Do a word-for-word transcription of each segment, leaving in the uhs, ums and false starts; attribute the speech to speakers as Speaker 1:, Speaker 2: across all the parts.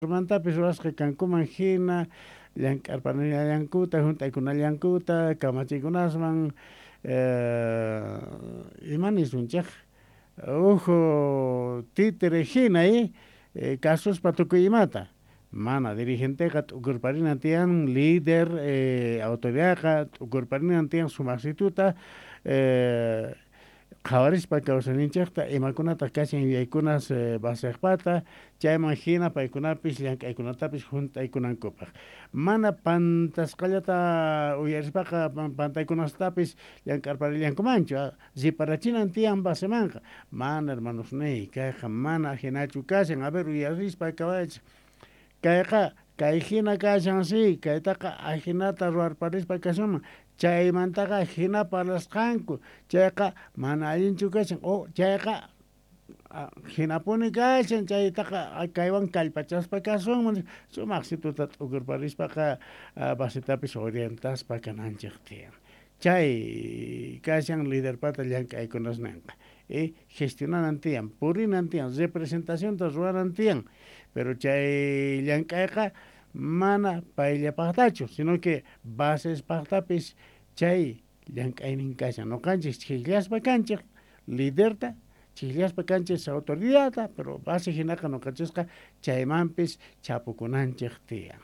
Speaker 1: Mantapis ruwasqa kankuman hina llank'arpanallankuta hunt'aykunallankuta kamachiykunasman eh, ima nisunchik uhu títere hina eh, kasuspa tukuy imata mana dirigenteqa t'ukurparinan tiyan líder eh, autoridadqa t'ukurparinan tiyan sumaqsituta eh, qhawarispa kawsayninchikta imakunataq kashan yuyaykunas eh, basiqpata chayman hina paykunapis llank'aykunatapis hunt'aykunankupaq mana pantasqallata uyarispaqa pantaykunastapis llank'arparillankumanchu riparachinan tiyan basemanqa mana hermanosniy kayqa mana hinachu kashan a ver uyarispa kawaychik kayqa kay hina kashan si kaytaqa ahinata ruwarparispa kasunman chaymantaqa hina parlasqanku chayqa mana allinchu kashan o chayqa hinapuni kashan chaytaqa kaywan kallpachaspa kasunman sumaqsituta t'ukurparispaqa basitapis orientaspa kananchik tiyan chay kashan liderpata llank'aykunasninqa y gestionanan tiyan purinan tiyan representacionta ruwanan tiyan pero chay llank'ayqa mana payllapaqtachu sino que basespaqtapis chay llank'aynin kashan ñuqanchik ch'ikllaspa kanchik liderta ch'ikllaspa kanchik autoridadta pero base hinaqa ñuqanchisqa chaymanpis chapukunanchik tiyan.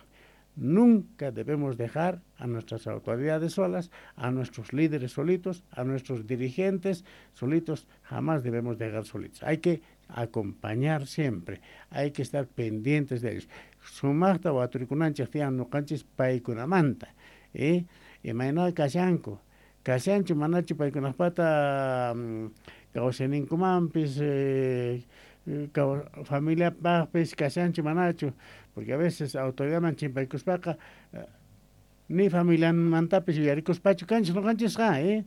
Speaker 1: Nunca debemos dejar a nuestras autoridades solas, a nuestros líderes solitos, a nuestros dirigentes solitos, jamás debemos dejar solitos. Hay que acompañar siempre, hay que estar pendientes de ellos. Sumaqta waturikunanchik tiyan ñuqanchis paykunamanta, eh? Imayna kashanku, kashanchu manachu paykunaqpata kawsayninkumanpis eh, familiapaqpis kashanchu manachu, porque a veces autoridadman chimpaykuspaqa ni familiamantapis yuyarikuspachu kanchik ñuqanchisqa, eh?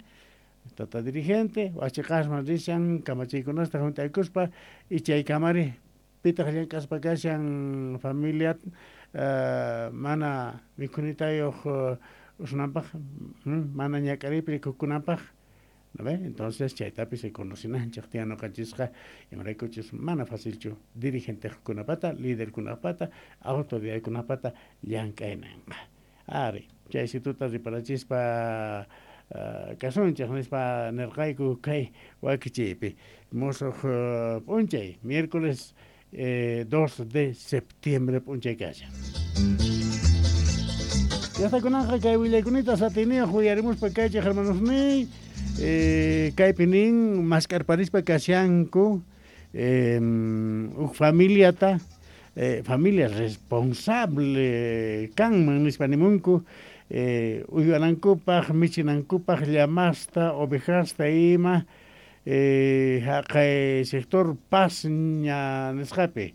Speaker 1: Tata dirigente, wachiqasman rishan kamachiykunasta hunt'aykuspa y chay kamari pitaq llank'aspa kashan familia uh, mana mikhunitayuq uh, usunanpaq mana ñak'ariypi rikukunanpaq, ¿no ve? Entonces chaytapis reconocinanchik tiyan ñuqanchisqa imaraykuchus mana facilchu dirigentejkunapata liderkunapata autoridadkunapata llank'aynanqa ari chay situta riparachispa uh, kasunchik nispa nirqayku kay wakichiypi musuq uh, p'unchay miércoles eh, dos de septiembre p'unchay kashan. Llaqtakunanqa kay willaykunita satiniyuq uyarimuspa kaychik hermanosniy eh, kaypi nin mask'arparispa kashanku eh, huk familiata eh, familia responsable kanman nispa nimunku eh, uywanankupaq michinankupaq llamasta ovejasta ima eh, haqay sector Pasña nisqapi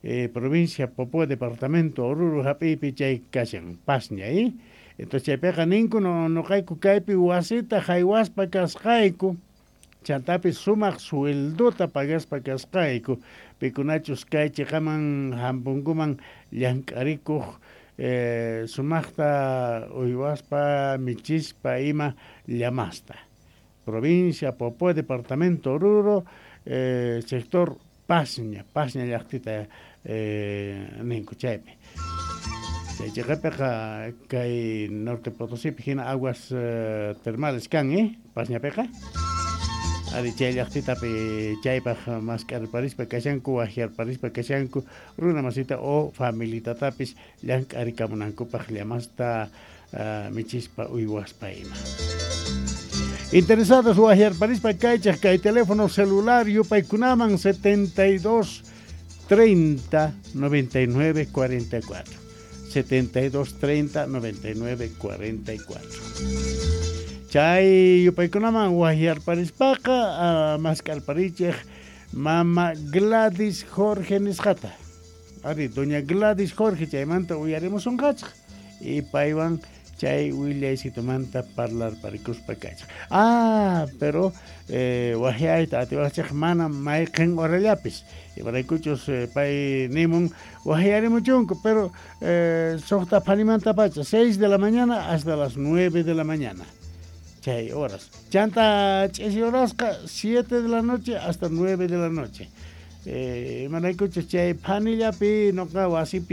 Speaker 1: eh, provincia Poopó departamento Oruro hap'iypi chay kashan Pasña eh? Entonces chaypiqa ninku no ñuqayku kaypi wasita haywaspa kasqayku chantapis sumaq sueldota pagaspa kasqayku pikunachus kay chiqaman hampunkuman llank'arikuq eh, sumaqta uywaspa michispa ima llamasta provincia Poopó departamento Oruro eh, sector Pasña Pasña llaqtita eh, ninku chaypi chay chiqapiqa kay Norte Potosípi hina aguas eh, termales kan eh Pasñapiqa ari chay llaqtitapi chaypaq mask'arparispa kashanku wahyarparispa kashanku runa masita o familitatapis llank'arikamunankupaq llamasta uh, michispa uywaspa ima. Interesados wahyarparispa kaychaq kay teléfono celular yupaykunaman setenta y dos treinta noventa y nueve cuarenta y cuatro setenta y dos treinta noventa y nueve cuarenta y cuatro. Chay yupaykunaman wahyarparispaqa uh, mask'arparichik mama Gladys Jorge nisqata. Ari, doña Gladys Jorge chaymanta uyarimusunqachik y paywan chay willaysitumanta parlarparikuspa kachik. Ah, pero eh, wahyayta atiwaqchik mana mayqin horallapis imaraykuchus eh, pay nimun wahyarimuchunku pero eh, suqta phanimantapacha seis de la mañana hasta las nueve de la mañana chay horas chanta ch'isi horasqa siete de la noche hasta nueve de la noche. Eh, imaraykuchus chay phanillapi nuqa wasipi